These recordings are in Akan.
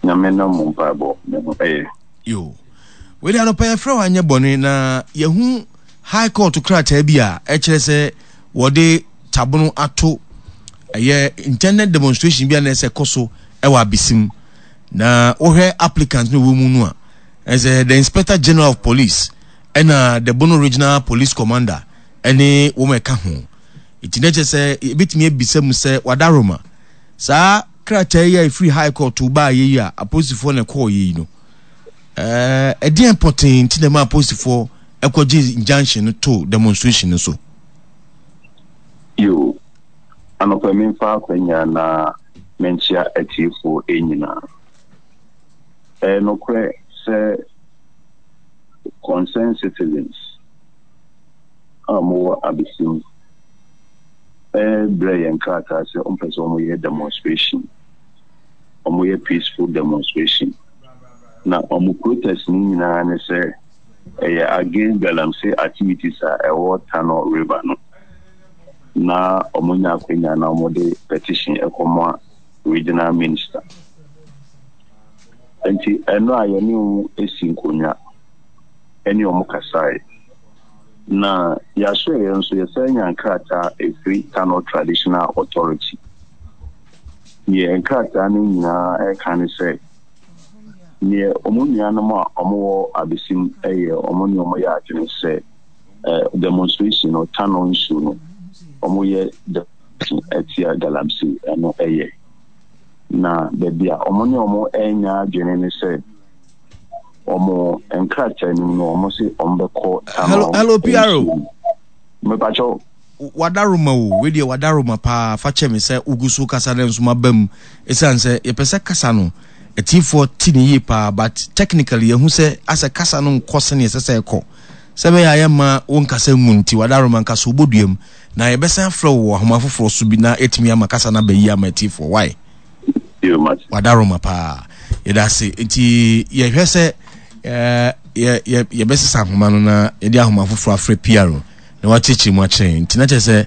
Nyame nam mo mpaebɔ me ho ɛyɛ. Yo. Wei de anɔpa yɛfrɛ wo anyɛ bɔne na yɛhu High Court krataa bi a ɛkyerɛ sɛ wɔde tabono ato ɛyɛ intended demonstration bi a na ɛsɛ kɔ so ɛwɔ abesim na wohwɛ applicant no wɔ mu no a ɛsɛ the Inspector General of Police ɛna the Bono Regional Police Commander ɛne wɔn ɛka ho. Nti na kyerɛ sɛ yɛbɛtumi abisa mu sɛ Wadaroma saa krataa yi a ɛfiri High Court baeɛ yi a apolisifoɔ na ɛkɔɔeɛ yi no, ɛdeɛn pɔtee nti na ɛma apolisifoɔ ɛkɔgye injunction no too demonstration no so? Yo, anɔpa memfa akwanya na menkyea atiefoɔ nyinaa. Ɛyɛ nokorɛ sɛ concerned citizens a wɔwɔ Abesim brɛɛ yɛn krataa sɛ wɔpɛ sɛ wɔyɛ demonstration, wɔyɛ peaceful demonstration. Na wɔn protest no nyinaa ne sɛ ɛyɛ against galamsey activities a ɛwɔ Tano River no. Na wɔnya akwanya na wɔde petition ɛkɔma regional minister. Nti ɛno a yɛne wɔn si nkonnwa ɛne wɔn kasae. Na yɛasoɛeɛ nso, yɛsan nyaa nkrataa ɛfiri Tano Traditional Authority. Deɛ nkrataa no nyinaa ɛka ne sɛ, neɛ wɔn nuanom a wɔwɔ Abesim yɛ, wɔn ne wɔn yɛ adwene sɛ demonstration no, Tano nsuo no, wɔyɛ demonstration atia galamsey, ɛno ɛyɛ. Na baabi a wɔn ne wɔn ɛnya adwene ne sɛ, wɔn nkrataa no mu no wɔn se wɔn bɛkɔ Hello, hello, PRO. Mepakyɛw. Wadaroma o, wei deɛ wadaroma paa, fa kyɛ me sɛ wogu so kasa no nso maba mu. Ɛsiane sɛ yɛpɛ sɛ kasa no atiefoɔ te ne yie paa, but technically yɛhu sɛ asɛ kasa no nkɔ sɛdeɛ ɛsɛ sɛ ɛkɔ. Sɛ ɛbɛyɛ a yɛmma wo nkasa ngu nti, wadaroma nka so wobɔ dua mu. Na yɛbɛsan afrɛ wo wɔ ahoma foforɔ so bi na yɛatumi ama kasa no aba yie ama atiefoɔ. Why? Wadaroma paa. Yɛda ase. Nti yɛhwɛ sɛ yɛbɛsesa ahoma no na yɛde ahoma foforɔ afrɛ PRO na wakyerɛkyerɛ mu akyerɛ yɛn. Nti na kyerɛ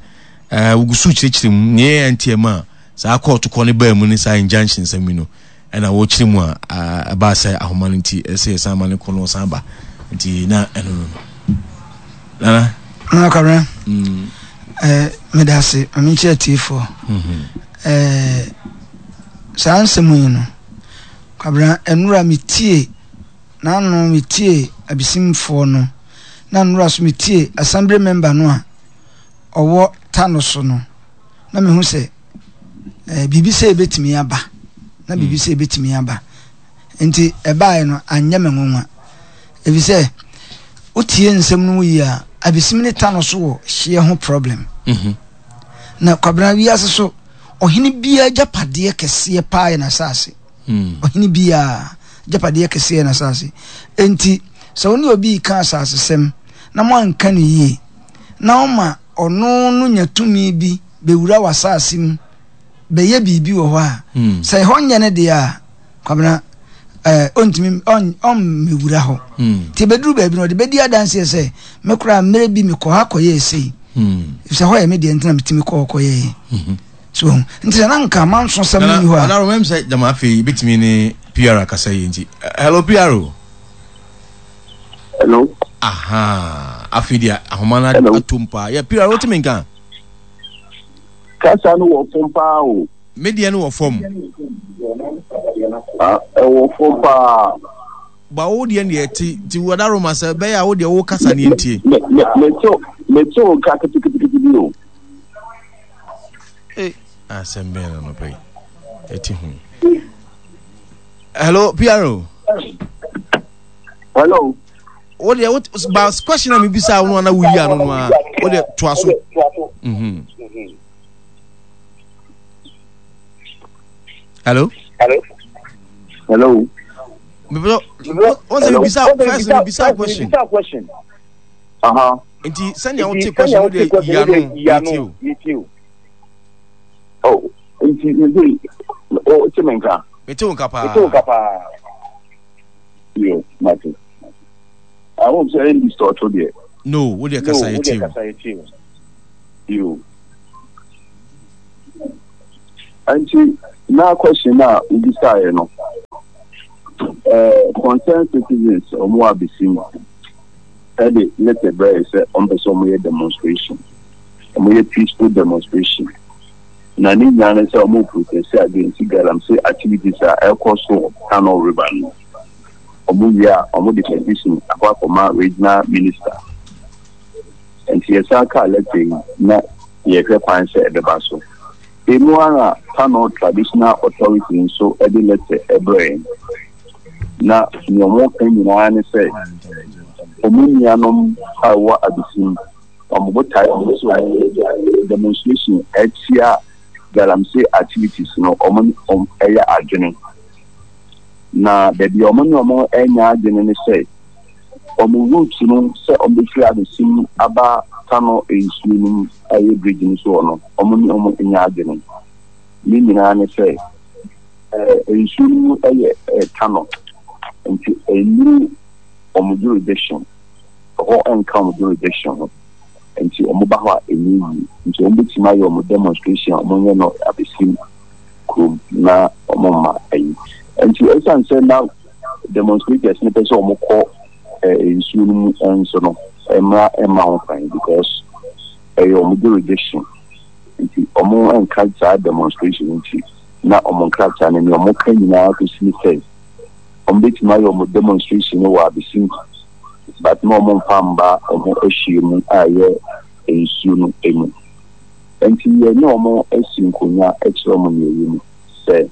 sɛ wogu so kyerɛkyerɛ mu nea ɛyɛ nti ɛma saa kɔɔto kɔ no baa mu ne saa injunction nsɛm yi no ɛna wɔkyerɛ mu a ɛbaa sɛ ahoma no nti ɛsɛ yɛsan ma no kɔ no ɔsan ba. Nti na ɛno no. Nana. Nana Kwabena. Mm. Eh, meda ase. Ma menkyerɛ atiefoɔ. Mm-hmm. Eh, saa nsɛm yi no, Kwabena, nnora metie, n'ano metie abisimfoɔ no, na nnora so metie assembly member no a ɔwɔ ta no so no, na mehu sɛ eh, biribi sɛ ebetumi aba, na biribi mm. sɛ ebetumi aba. Nti ɛbaeɛ no anyɛ me nwanwa. Efisɛ wotie nsɛm no mu yie a, abesim ne ta no so wɔ hyeɛ ho problem. Mhm. Na Kwabena wiase so ɔhene biara agyapadeɛ kɛseɛ paa yɛ n'asase. Mm. Ɔhene biara agyapadeɛ kɛseɛ yɛ n'asase. Enti sɛ wo ne obi reka asasesɛm na moanka no yie na ɔma ɔno no nya tumi bi bɛwura w'asase mu bɛyɛ biribi wɔ hɔ a, mm. sɛ ɛhɔ nyɛ ne deɛ a, Kwabena, ɛɛ ɔntumi ɔn ɔmmɛwura hɔ. Hmm. Nti ebeduru baabi no ɔde bɛdi adanseɛ sɛ me koraa mmerɛ bi mekɔ ha kɔyɛɛ sei. Hmm. Efisɛ hɔ yɛ me deɛ nti na metumi kɔ hɔ kɔyɛɛ. Hmm. So nti sɛ na nka manso sɛm no ni hɔ a. Nana mɛm sɛ gyama afei ebetumi ne PR akasa yi nti. Hello PR o. Hello. Aha afei deɛ ahoma no atom paa. Yɛ PR o tumi nka. Kasa no wɔ fam paa o. Me deɛ no wɔ fam. Ah, ɛwɔ fam paa. Ba wo deɛ deɛ ɛte nti wada Roma sɛ ɛbɛyɛ a wo deɛ wo kasa ne ntie. Me me me te me te wo nka ketekete bi o. Ee asɛm bɛn na nɔpɛ yi ɛte ho. Hello PRO. Hello. Wo deɛ wo ba question a mebisa wo no ana woyi ano no a wo deɛ toa so. Mhm. Hello. Hello. Hello. Wọ́n sẹ́ mi bisa first mi bisa question. Uh-huh. Nti sẹ́ni àwọn tí question no de yanu yẹ ti o. Oh, nti nti o ti mi nka. Mi ti o nka paa. Mi ti o nka paa. Yo, mate. I hope sɛ ɛn distort deɛ. No, wo deɛ kasa yɛ ti o. Yo. Nti na question na wobisaeɛ no. Eh, concerned citizens wɔn wɔ abesim ɛde letter brɛ sɛ wɔn pɛ sɛ wɔn yɛ demonstration, wɔn yɛ peaceful demonstration. Na ne nyinaa ne sɛ wɔn protest against galamsey activities a ɛkɔ so wɔ Kano River no. Wɔn wie a, wɔn de petition akɔ akɔma regional minister. Nti yɛsan kaa letter yi na yɛhwɛ kwan sɛ ɛbɛba so. Emu ara Kano Traditional Authority nso de lɛtɛ brɛɛ yɛn. Na nea wɔka nyinaa ne sɛ wɔn nuanom a ɛwɔ Abesim, wɔn botae ne sɛ wɔyɛ demonstration atia galamsey activities no, wɔn ne wɔn yɛ adwene. Na baabi a wɔn ne wɔn nyɛ adwene ne sɛ wɔn route no sɛ wɔbɛfiri Abesim aba Kano nsuo no mu a ɛyɛ bridge no so hɔ no, wɔn ne wɔn nyɛ adwene. Ne nyinaa ne sɛ nsuo no mu yɛ Kano, nti ɛnnuru wɔn jurisdiction, ɛhɔ nka wɔn jurisdiction ho, nti wɔn ba hɔ a ɛnyɛ yie. Nti wɔn bɛtumi ayɛ wɔn demonstration a wɔnyɛ no Abesim kurom na wɔn mma ayi. Nti ɛsiane sɛ na demonstrators no pɛ sɛ wɔn kɔ nsuo no mu nso no, mmara mma ho kwan because ɛyɛ wɔn jurisdiction. Nti wɔn nka saa demonstration nti na wɔn nkrataa no nea wɔn ka nyinaa kɔsi ne sɛ wɔn bɛtumi ayɛ wɔn demonstration no wɔ Abesim but na wɔn mfa mba wɔn ahyia mu a ɛyɛ nsuo no mu. Nti yɛne wɔn asi nkonnwa kyerɛ wɔn nea ɛwɔ mu sɛ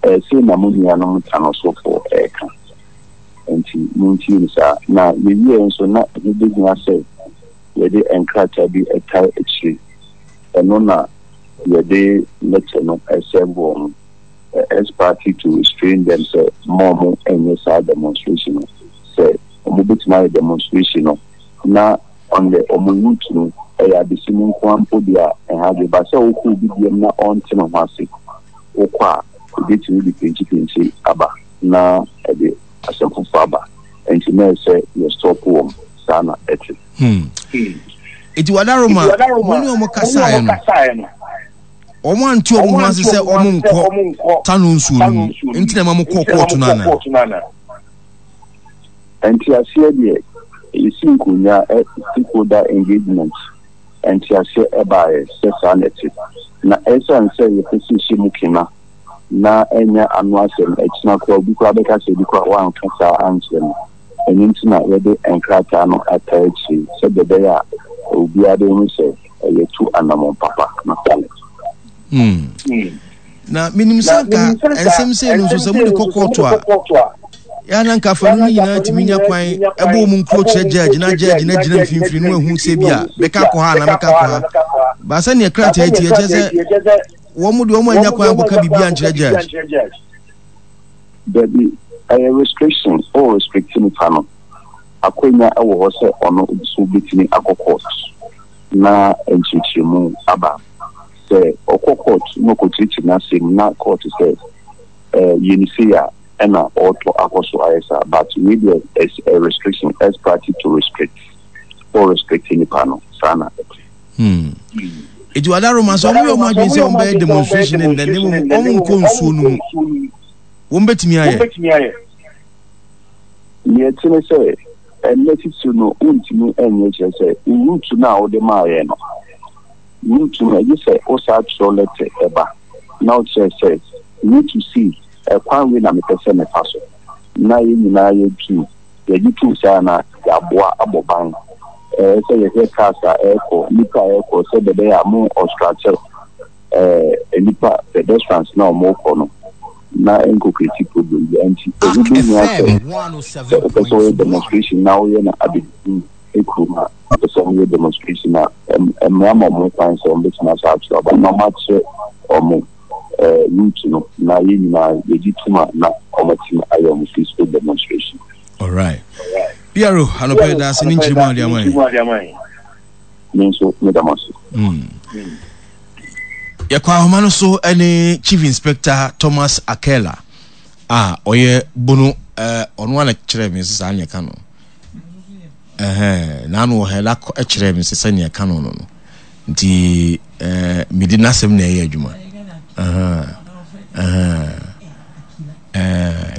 ɛɛ sei na mo nuanom Tanosofoɔ ɛreka. Enti montie no saa. Na yɛwieɛ nso, na ɛho bɛhia sɛ yɛde nkrataa bi tae akyire. Ɛno na yɛde lɛtɛ no sɛɛve wɔn, ex parte to restrain them sɛ mma wɔn nyɛ saa demonstration no. Sɛ wɔbɛtumi ayɛ demonstration no na on the wɔn route no ɛyɛ adesim nko ara mpo deɛ a, ɛha adwene. But sɛ wokɔ obi deɛm na ɔnte ne ho ase, wokɔ a, ɛbɛtumi de pinkyipinkyi aba. Na ɛde asɛm foforɔ aba nti na ɛsɛ yɛ stop wɔn saa na ɛte. Hmm. Eti wadaroma mo ne wɔn kasaeɛ no wɔn ante wɔn ho ase sɛ wɔn nkɔ tano nsuo no mu nti na ɛma mo kɔɔ kɔɔto no anaa. Nteaseɛ deɛ yɛsi nkonnwa stakeholder engagement nteaseɛ ɛbaeɛ sɛ saa na ɛte na ɛsiane sɛ yɛpɛ sɛ yɛhyɛ mu kena na ɛnyɛ ano asɛm, akyina koraa obi koraa bɛka sɛ ebi koraa woanka saa ankyerɛ me. Ɛno nti na yɛde nkrataa no ataa akyire sɛdeɛ ɛbɛyɛ a obiara bɛhu sɛ yɛatu anammɔn papa. Natale. Hmm. Na menim sɛ anka nsɛm sei no nso sɛ mode kɔ kɔɔto a yɛ na nka afanu no nyinaa tumi nya kwan ɛbɔ wɔn nkuro kyerɛ gyɛɛgye na gyɛɛgye na gyina mfimfini no ahu sɛ bi a mɛka akɔ ha na mɛka akɔ ha baasa neɛ krataa ti ɛkyɛ sɛ Wɔn deɛ wɔn annya kwan ankɔka biribi ankyerɛ judge. Dabi, ɛyɛ restriction, wo restrict nipa no, akwanya wɔ hɔ sɛ ɔno nso bɛtumi akɔ court na nkyerɛkyerɛmu aba. Sɛ ɔkɔ court na ɔkɔkyerɛkyerɛ n'asɛm na court sɛ eh, yɛ no sei a, ɛna ɔretɔ akɔ so ayɛ saa. But wei deɛ is a restriction, ex parte to restrict, wo restrict nipa no, saa na ɛte. Hmm. Eti wada Roma sɛ wɔn yɛ wɔn adwene sɛ wɔn bɛyɛ demonstration ne nnɛ ne mmom wɔn nkɔ nsuo no mu. Wɔn bɛtumi ayɛ. Nea ɛte ne sɛ ɛnnɛ titiriw no wontumi nyɛ kyerɛ sɛ route no a wode maa yɛn no route no ɛgye sɛ wosaa twerɛ lɛtɛ ɛba na wokyerɛ sɛ route sei ɛkwan wei na mepɛ sɛ mefa so na yɛn nyinaa yɛtu Yɛgye tom saa na yɛaboa abɔ ban. Ɛyɛ sɛ yɛhwɛ cars a ɛrekɔ, nnipa a ɛrekɔ sɛdeɛ ɛbɛyɛ a mo obstruct nnipa, pedestrians no a wɔrekɔ no na ɛnkɔ create problem biara. Nti ɛho bɛhia sɛ sɛ wopɛ sɛ woyɛ demonstration na woyɛ no abɛduru kurom a, wopɛ sɛ woyɛ demonstration a, mmara ma wɔn kwan sɛ wɔbɛtumi asa akyerɛ aba na wɔakyerɛ wɔn route no na yɛn nyinaa yɛgye tom a na wɔatumi ayɛ wɔn peaceful demonstration. Alright. PRO, anɔpa yɛda ase ne nkyerɛmu a wode ama yɛn. Me nso meda mo ase. Yɛkɔ ahoma no so ne Chief Inspector Thomas Akela a ɔyɛ bono ɔno ana kyerɛ me sɛ saa ne ɛka no. Ɛhɛn, n'ano wɔ ha da kyerɛɛ me sɛ sɛnea ɛka no no no. Nti ɛɛ mede n'asɛm na ɛyɛ adwuma. Ɛhɛn, ɛhɛn, ɛɛ.